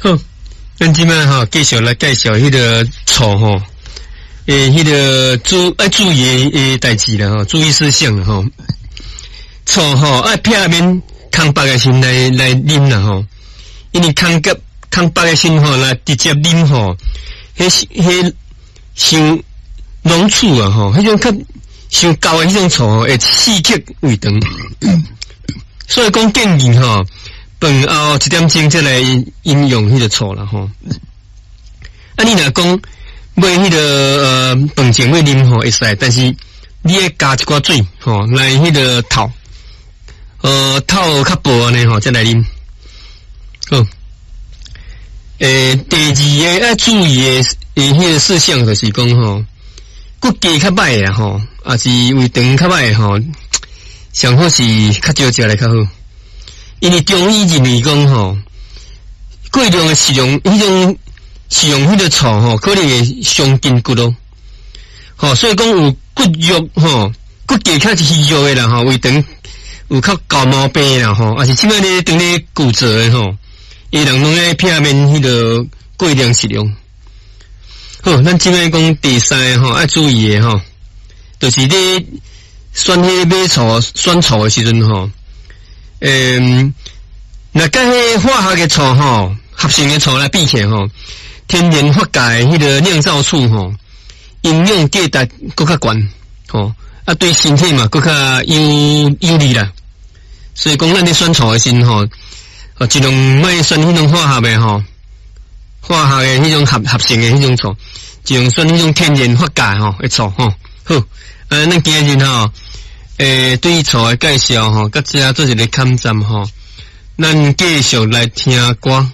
好，咱這擺吼繼續來介紹彼個醋吼，彼個愛注意的代誌啦吼，注意事項吼。醋吼愛避免空腹的時來啉啦吼，因為空腹的時吼來直接啉吼，彼傷濃醋啊吼，彼種較傷厚的彼種醋吼，會刺激胃腸，所以講建議吼，飯後一點鐘才來飲用彼個醋啦吼。啊，你若講欲彼個飯前欲啉吼會使，但是你愛加一寡水吼來彼個透，透較薄按呢吼，才來啉。好，第二个愛注意的彼個事項就是講吼，骨架較䆀的吼，抑是胃腸較䆀的吼，上好是較少食來較好。因為中醫認為講吼，過量的食用彼種食用彼個醋吼，可能會傷筋骨咯。吼，所以講有骨弱吼，骨架較虛弱的人吼，胃腸有較厚毛病啦吼，抑是這擺咧當咧骨折的吼，伊人攏愛避免彼個過量食用。好，咱這擺講第三个吼，愛注意的吼，就是咧選彼買醋選醋的時陣吼。若佮彼化學的醋吼，合成的醋來比起來吼，天然發酵的彼個釀造醋吼，營養價值閣較懸吼，啊對身體嘛閣較有利啦。所以講，咱咧選醋的時陣吼，盡量莫選彼種化學的吼，化學的彼種合成的彼種醋，盡量選彼種天然發酵吼的醋吼。好，咱今日吼，對醋的介紹吼，到這做一个坎站吼，咱繼續來聽歌。